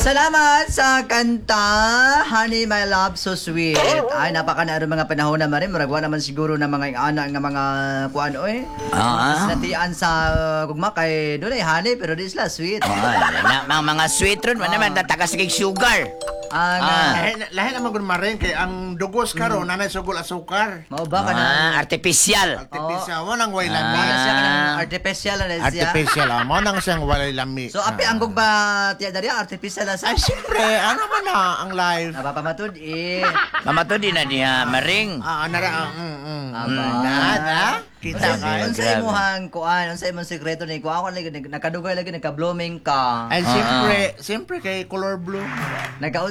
Salamat sa kanta, Honey My Love So Sweet. Ay, napaka na mga panahon na marin. Murag wa naman siguro na mga ana nga mga kuan oy. Natian sa gugma kay dunay honey pero di sila sweet. Oh, na, mga sweet ron, man naman tatakas kay sugar. Ang Lahi, lahi naman gud marin kay ang dugos karon nanay sugol asukar. Mao ba ka na? Artificial. Artificial mo nang way lami. Wala siya kanang artificial na siya. Artificial mo nang siyang walay lami. So api ang gugma tiya diri artificial na sa. Ay siyempre, ano man na ang life. Napapamatud eh. Mamato din na niya, maring. Nara, Aba. Na, kita ka. Unsa Grabe. imong kuan, unsa imong sekreto ni kuan ako lagi nakadugay lagi nagka-blooming ka. Ay siyempre, siyempre kay color blue.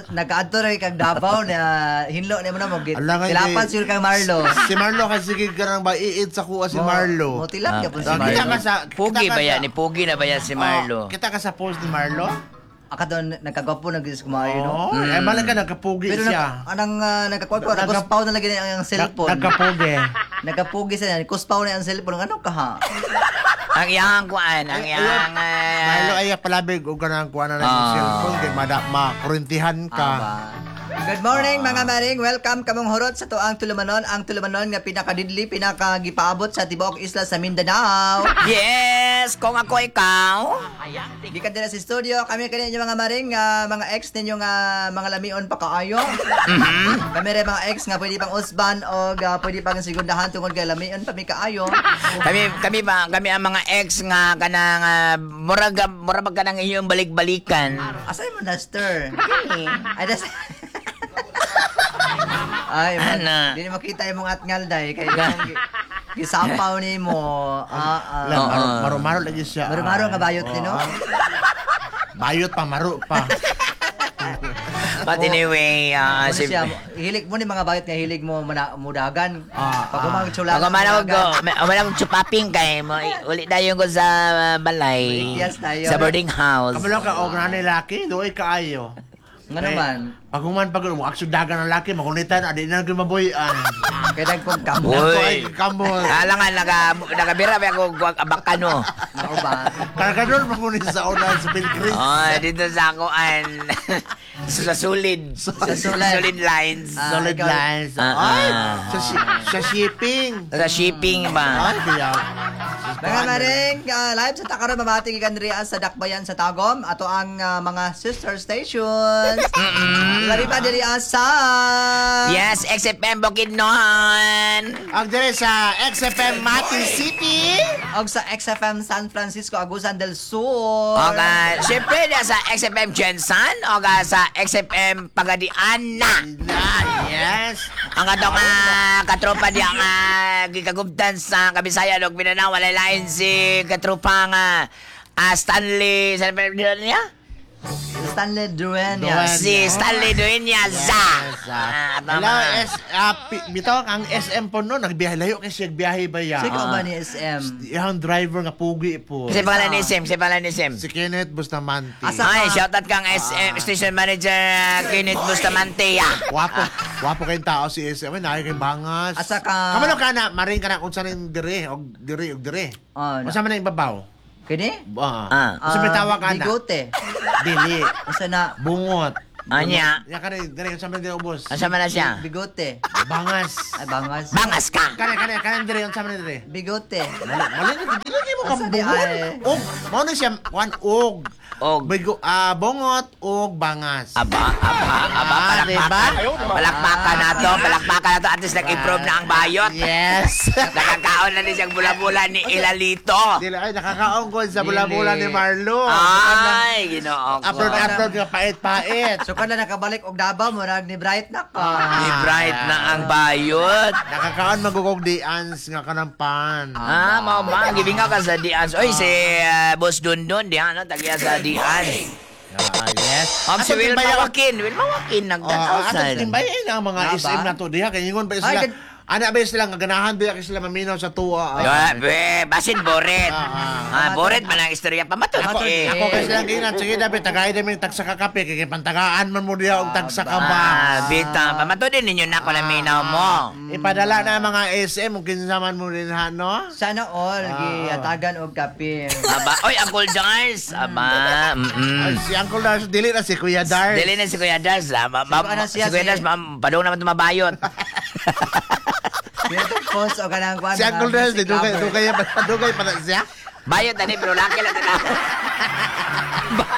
Nagkaadto ra kag Davao na hinlo nimo na mo Ala, kay- tilapan siguro kang Marlo. Si Marlo kasi sige ka ba iid sa kuha si Marlo. Mo tilap ka po si Ah, Marlo. kita ka sa kita Pugi ka ba yan? sa- Ni Pugi na ba yan si Marlo? Oh, kita ka sa post ni Marlo? Aka doon nagkagwapo na gis kumayo no. Oh, eh malay ka nagkapugi Pero siya. anang nagkakuan ko, nagkuspaw na lagi na ang cellphone. Nagkapugi. Nagkapugi siya, kuspaw na ang cellphone. Ano ka ha? Ang iyang kuan, ang iyang Marlo ay palabig og kanang kuha na ng cellphone kay mada makurintihan ka. Aba. Good morning mga maring. Welcome kamong hurot sa tuang tulumanon, ang tulumanon nga pinakadidli, pinakagipaabot sa tibuok isla sa Mindanao. Yes, kung ako ikaw. Gikan din sa studio, kami kaninyo mga maring, mga ex ninyo nga mga lamion pa kaayo. Kami rin mga ex nga pwede pang usban o pwede pang segundahan tungod kay lamion pa mi kaayo. Kami kami ba kami ang mga ex nga kanang murag murag ba kanang inyong balik-balikan. Asa mo duster? Ay, das. Ay, man, Ana. di na makita imong atngal day kay imong gisapaw nimo. La, maro-maro lagi siya. Maro-maro nga bayot ni no. Bayot pa, maro pa. But anyway, Ano si siya, hilig mo ni mga bayot nga hilig mo mudagan. Pag umang tsula. Pag umana ko, umana ko chupaping kay mo uli dayon ko sa balay. Yes, tayo. Sa boarding house. Kabalo ka og nanay laki, doy kaayo. Nga naman. Pag human pag mo aksyon dagan ang laki, magunitan adi na gyud mabuy-an. Kay dagpong kamot. Uy. Ay, kamot. Alangan nakabira ba ako abakano. Mao ba? Kargador magunin sa una sa Pilgrim. Oh, dito sa ako an sa solid. Sa solid. Solid lines. Solid ikaw- lines. Ay, sa shipping. Sa shipping ba? Ay, kaya. Mga maring, live sa Takaro Mamati gikan diri sa Dakbayan sa Tagom ato ang mga sister stations. Labi pa diri sa Yes, XFM Bukidnon. Ang dire sa XFM Mati City. og sa XFM San Francisco Agusan del Sur. Oga, syempre na sa XFM Jensen, oga sa XFM Pagadian na. Yes. Ang atong katropa diya nga gikagubtan sa Kabisayan ug Mindanao, walay lain si katropa nga Stanley, sa niya? Stanley Dueñas. Dueñas. Si Stanley Dueñas. Yes. Tama. Hello, S, bitaw ang SM po no, nagbiyahe layo kay siya biyahe ba ya? Sino ba ni SM? Iyang driver nga pugi po. Si pangalan ni Sim, si pangalan ni Sim. Si Kenneth Bustamante. Asa- Ay, shoutout kang SM Station Manager Kenneth Bustamante. Wapo, wapo kayong tao si SM. Ay, naay kayong bangas. Asa ka- Kamano ka na, maring ka na kung saan yung dire, og dire, og dire. Ah, na. Unsa man ang ibabaw? Kini? Unsa may tawag ka na? Bigote. Dili. Unsa na? Bungot. Anya. Ya ka dire, unsa man dire ubos? Asa man na siya? Bigote. Bangas. Ay bangas. Bangas ka! Kane, kane, kane dire, unsa man dire? Bigote. Mali, mali, dili kay mo Asa kang di bungot. ay? Og, mao na siya, kuan og. Og. Bigo, bungot og bangas. Aba, aba, aba, palakpakan. Diba? Palakpakan na to, palakpakan na to. At least nag-improve na ang bayot. Yes. Nakakaon na din siyang bula-bula ni Ilalito. Dili ay nakakaon ko sa bula-bula Dili. ni Marlo. Ay, ginoo ko. Upload, upload nga pait-pait. So kada nakabalik og Davao murag ni Bright na ka. Ni Bright na ang bayot. Nakakaon magugog di ans nga kanang pan. Mao ba? Gibingaw ka sa Dians. Oy, si Boss Dundon, diyan, no? Tagiya sa Dians. Yes. Ang si Atong Wilma timbayan- Joaquin. Wilma Joaquin, Oh, nagtanaw atong timbayan ang mga Nga ba? SM na to diha kay ingon pa Ay, sila. Ana ba sila nga ganahan ba kay sila maminaw sa tuwa. Ah, be, basin boret. Ah, Ah, boret man ang istorya pamatod. Ako, Eh. ako kasi lang ginan, sige dapat tagay namin tagsa ka kape kay pantagaan man mo diha og tagsa ka ba. Ah, bita, pamatodin ninyo na ko naminaw mo. Ipadala na mga SM ug kinsa man mo din ha, no? Sana all giatagan og kape. Aba, oy, Uncle Jars. Aba, Ay, si Uncle Dars, dili na si Kuya Dars. Dili na si Kuya Dars. Ah, Sino na si siya, Kuya si- Dars, ma'am, padung naman tumabayot. Post o kanang kuan. Si Uncle mga Dars, music di dugay lover. dugay pa dugay pa na siya. Bayot tani pero laki lang tanawon.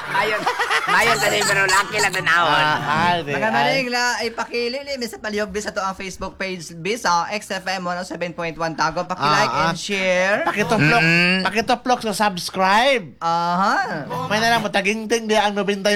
Bayot, bayot tani pero laki lang tanawon. Ah, di, Mga ay. maring la ipakilili mi sa palihog bis ato ang Facebook page bis sa XFM 107.1 Tago paki-like Ah, ah. and share. Pakituplok, pakituplok sa subscribe. Aha. May na lang matagingting di ang 99.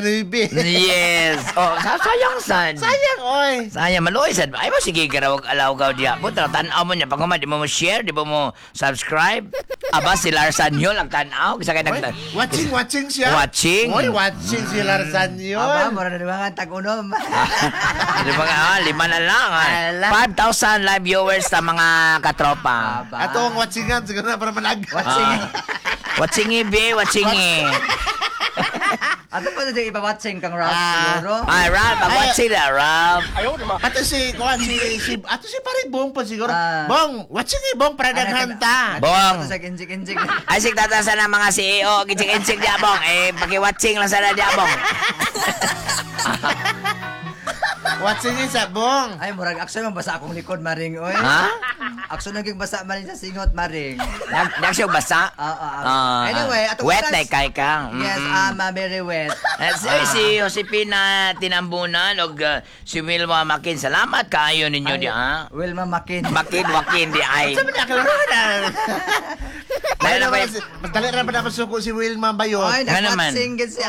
Yes. Oh, sayang sad. Sayang oy. Sayang maluoy sad. Ay mo sige garawag alaw gaw diya. Puta tan-aw mo niya pag di mo mo share, di mo mo subscribe. Aba si Larsan yun ang tan-aw kisa kay Oy, nag watching, watching siya. Watching. Oy, watching si Larsan yun. Aba, mura na naman ang tag-unom. Di ba nga, lima na lang. Ala. 5,000 live viewers sa mga katropa. Aba. Ato ang watchingan, siguro na para manag. Watching. Ah. Watching be, watching. Ato pa na ipa-watching kang Ralph Ah. siguro. Ay, Ralph, watching na, Ralph. Ato si, kuwan, si, si, ato si pare Bong pa siguro. Ah. Bong, watching eh, Bong, para naghanta. Bong. Ato sa kinjik-kinjik. Ay, sig tatasan ng mga CEO, kinsik-insik diya, Bong. Eh, paki-watching lang sana diya, Bong. Watching eh sa Bong. Ay, murag aksyon man basa akong likod maring oy. Ha? Aksyon naging basa maring sa singot maring. Nag siya basa? Ah, ah, ah. Ah, Anyway, atong wet oras- na kay ka. Yes, very wet. Eh, si, si Josepina Tinambunan og si Wilma Makin. Salamat kaayo ninyo di ha. Wilma Makin. Makin Wakin di ay. Sabi niya, kalaro na. Dali na ba yun? Mas dali na ba na masuko si Wilma ba yun? Ay, Nga naman. nag-watching gid si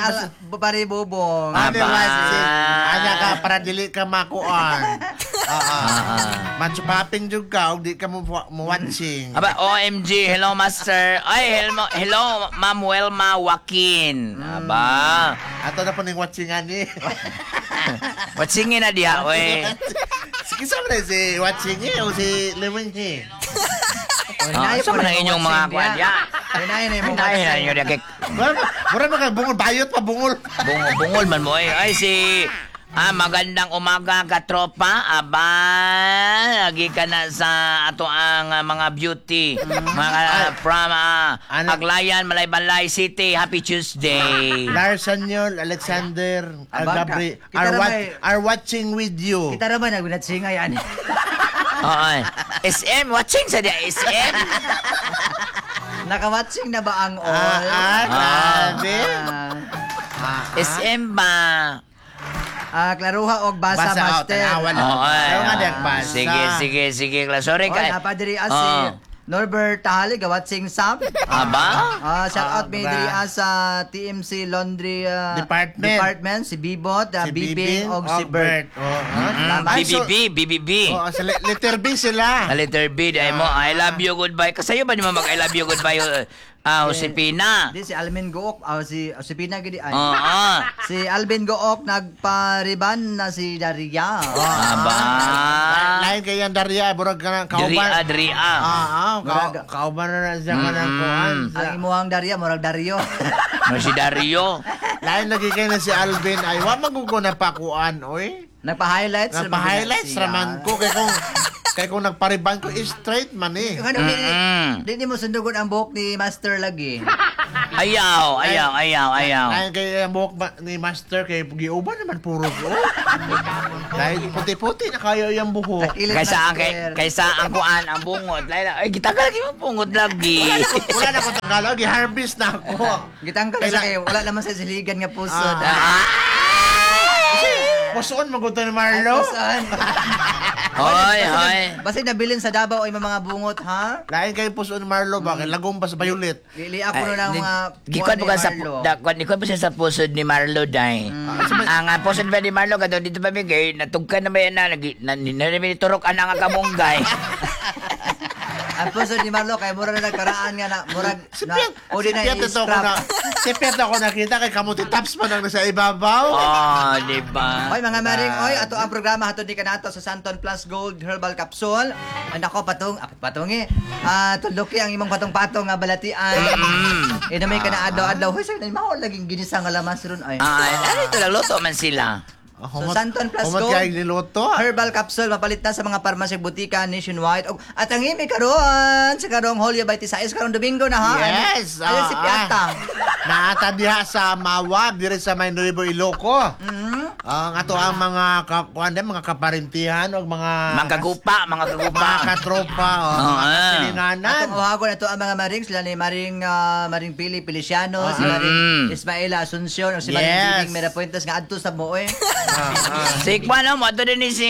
Pare Bobong. Ah, Ano Aba. watching? Ana ka, para dili ka makuan. Ah, ah. Matsupaping jud ka, og di ka mo mo watching. Aba, OMG, hello master. Ay, hello, hello Ma'am Wilma Joaquin. Aba, Ato na po ning watchingan ni. watchingin na diha, oy. Sige sa man si watching eh o si Lewin eh. Ah, sa man ang inyong mga kuwan diha? Hinay na yung Ay, na inyo diha kay Mura mura man bungol bayot pa bungol. bungol, bungol man mo eh. Ay, si magandang umaga katropa. Aba, lagi ka na sa ato ang mga beauty. Mga from Ano? Aglayan, Malaybalay City. Happy Tuesday. Larson yun, Alexander, Aba, Gabri, kita na ba- are watching with you. Kita ra ba nagwinatsingay ani? Oo. SM, watching sa diya, SM. Naka-watching na ba ang all? Ah, ah, grabe. Ah, SM ba? Klaruha og basa, Basa, oh, master. tanawa na. Oo, ay, Pero nga ah. diyang basa. Sige, sige, sige. Sorry Oy, ka. napadiri si Norbert Tahali gawatching sab. Aba? Shout out may bra. diri sa TMC Laundry Department. Department si Bibot, Si Bibing og si Bert. Oh, ah. Ay, so- BBB, BBB. Oo, sa letter B sila. A letter B, dahil mo, I love you, goodbye. Kasayo ba naman mag I love you, goodbye, Josepina? Di si Alvin Gook, si Josepina gidi ay. Oo. Si Alvin Gook nagpariban na si Daria. Aba. Lain kay yan Daria, burag ka ng kauban. Dria, Dria. Ah, Murag- kauban na na siya ka ng kuan. Ang imuhang Daria murag Dario. No, si Dario. Lain lagi kay na si Alvin ay wa magugo na pakuan oy. Nagpa-highlights raman Nagpa-highlights siya. raman ko kay kung nagpariban ko straight man eh. Ano, di mo sundugon ang buhok ni Master lagi. Ayaw, ayaw, ayaw, ayaw. Lain kay ang buhok ni Master kay giuban naman puro ko. Dahil puti-puti na kayo yung buhok. Takilit Kaysa ang kay, Master. kaysa ang kuan ang bungot. Laila, ay gitagal lagi mo bungot lagi. Wala na ko Tagalog, gi-harvest na ako. Gitanggal na siya kayo. Wala naman sa siligan nga pusod. Ah. Pusoon maguto ni Marlo. Puson. Hoy, hoy. Basta nabilin sa Davao ay mga bungot, ha? Lain kayo pusoon ni Marlo ba? Kay lagom pa sa Violet. Lili ako na ng mga Gikuan po ka sa Marlo. da, kuan po siya sa pusod ni Marlo dai. Ang pusod ba ni Marlo kadto dito pa mi kay natugkan na ba yan na na, na, na, na, turok ana nga kamunggay. Ang puso ni Marlo kay mura na nagkaraan nga na murag Si na Piet, pwede si na Piet ito ko i-scrap. na, si Piet ako nakita kay kamuti tops man ang nasa ibabaw. Oh, di ba? Oy mga maring, oy ato ang programa hatod ni kanato sa Santon Plus Gold Herbal Capsule. Ay nako patong, ah, patong eh. Ah, tuluki ang imong patong-patong nga balatian. Eh na may kana adlaw-adlaw. Hoy sir, mao laging ginisa nga lamas ron ay. Ah, ano ito lang, luto man sila. So, Santon Plus Humot Gold. kay niluto. Herbal capsule mapalit na sa mga parmasya butika nationwide. Og at ang imi karon sa karong Hulyo 26 karong Domingo na ha. Yes. Ayun si Piata. Naata diha sa Mawag, dire sa may Nuevo Iloco. Ang ato ang mga kuan din, mga kaparintihan o mga Mga kagupa, mga kagupa. mga katropa o mga kasilinganan. Atong uhagon ato ang mga maring sila ni Maring Maring Pili Feliciano, si Maring Ismaela Asuncion o si Maring Bibing Mirapuentes nga adto sa Moe. Si Kwan, no, mo din ni si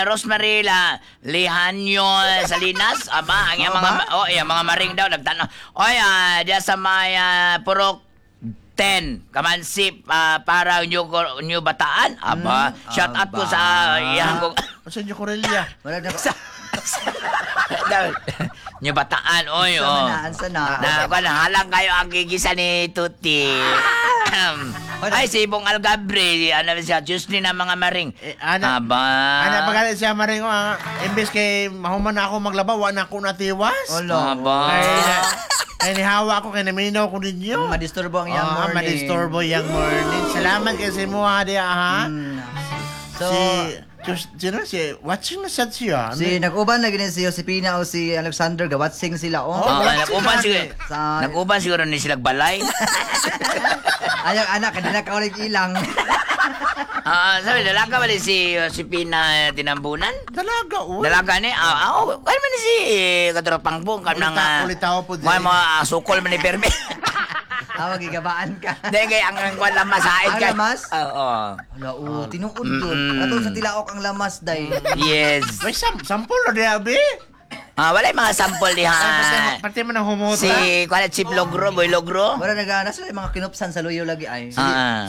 Rosemary La Lihanyo Salinas. Aba, ang iyang mga oh, iyang mga maring daw nagtanaw. Oy, diya sa may Purok 10, Kamansip, para New Bataan. Aba, shout out ko aba. sa iyang kong Sa inyo Corelia. Wala na New Bataan, oy, Sa oh. na, ansa na. Na, kwan, halang kayo ang gigisa ni Tuti. Ay, si Ibong Algabre, ano siya, Tuesday na mga maring. Eh, ana- Aba. Ana pagalit siya maring imbes kay mahuman na ako maglaba wa na ako natiwas. Olo. Aba. Kay kay nihawa ako kay naminaw ko ninyo. Madisturbo ang iyang morning. Madisturbo yang morning. Salamat kay sa imo ha diha ha. So, si Diyos, sino si watching na sad siya. si nag-uban lagi ni si Josepina o si Alexander gawatsing sila oh. Oh, Oo, wala nag-uban sila siguro. Nag-uban siguro ni sila balay. Ayaw anak kadina ka ulit ilang. Sabi, dalaga ba ni si Josepina Tinambunan? Dalaga uy. Dalaga ni, oh, kaya man ni si Katropang Pong, kam nang, Ulitaw po mga din. mga sukol man ni Perme. Tawag gigabaan ka. Hindi, kaya ang kwan lamas haid Ang kay. lamas? Oo. Wala oh, tinuod yun. Ato sa tilaok ang lamas day. Yes. May sampol na diha be. Wala yung mga sample diha. Ay, pati man ang humota. Si, kuwan si Logro, Boy Logro. Wala nagana sila yung mga kinupsan sa luyo lagi ay.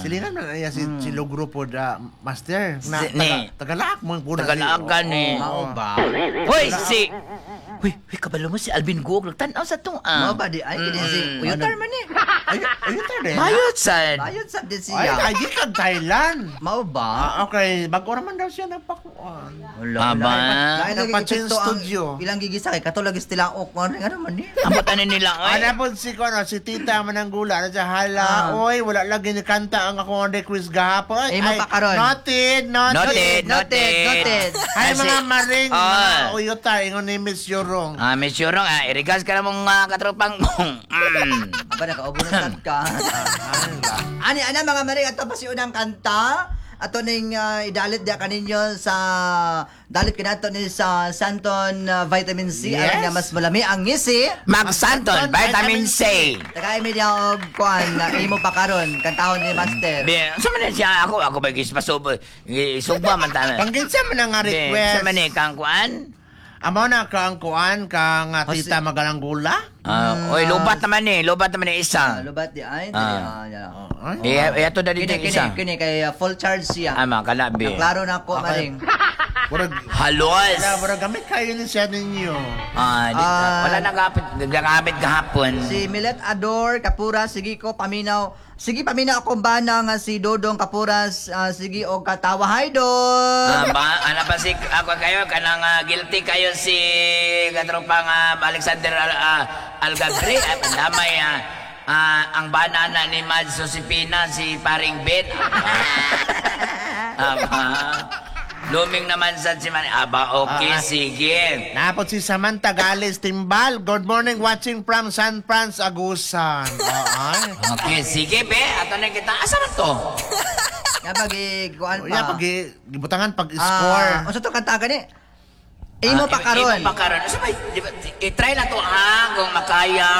Silingan man iya si Logro po da master. Na Ni. Tagalaak mo po na. Tagalaak ka ni. Mao ba? Hoy, si... Huy, huy, kabalo mo si Alvin Guog. Nagtanaw sa tong ah. Mao ba di ay kini si Uyutar man eh. Ay, ayun tayo rin. Bayot sad. Bayot sa din Ay, siya. ay, di kag Thailand. Mao ba? Okay. Bago naman daw siya nagpakuan. Wala. Aba. Lain lagi Nagpa-change epekto ang studio. ilang gigisa kay kato lagi sa tilaok ano nga naman eh. Ambot ano nila, oy. Ana po si kuno si Tita Mananggula na siya hala. Oy, wala lagi ni kanta ang akong request gahapon. Eh, Ay, mapakaron. Noted, noted. Noted, Noted, noted. noted. Ay, Kasi- mga maring, mga uyota, ingon ni Miss Yorong. Miss Yorong, irigas ka na mong katropang mong. Aba nakaubo na sad ka. Ani ana mga maring ato pa si unang kanta. Ato ning idalit diya kaninyo sa dalit kanato ni sa Santon Vitamin C Yes. aron nga mas malami ang ngisi. Magsanton, Vitamin C. Tagay mi diya og kuan na imo pa karon kantahon ni Master. Be, sa man siya ako, ako ba gispasob, isugba man ta. Pangginsa man ang nga Be, request. sa man eh, kang kuan? Amo na ka ang kuan ka nga Tita Magalanggula. Oy, lubat naman eh isa. Lubat di ay dili ya. Ay, Eh, ato na dito Kini yung isa. kini kini kay full charge siya. Ama, kalabi. Klaro na ako maring. Murag, Halos. wala, murag gamit kayo ni siya ninyo. Wala na kapit, gamit kahapon. Si Milet Ador Kapura sige ko paminaw. Sige paminaw akong bana nga si Dodong Kapuras sige og katawa hi Dod. Ba, ana pa si ako kayo kanang guilty kayo si katropang Alexander Algabre ay pandamay ang banana ni Mads Josepina si paring Ben. Aba. Luming naman sa si Man. Aba, okay, sige. Napot si Samantha Gales Timbal. Good morning, watching from San Franz, Agusan. Ay. Okay, sige, be. Ato na kita. Asa man to? Nga pag kuan pa. Ya, pag gibutangan pag score. Unsa to kanta gani? Imo pa karon. Imo pa karon. Asa ba? Di ba, i-try na to ha kung makaya.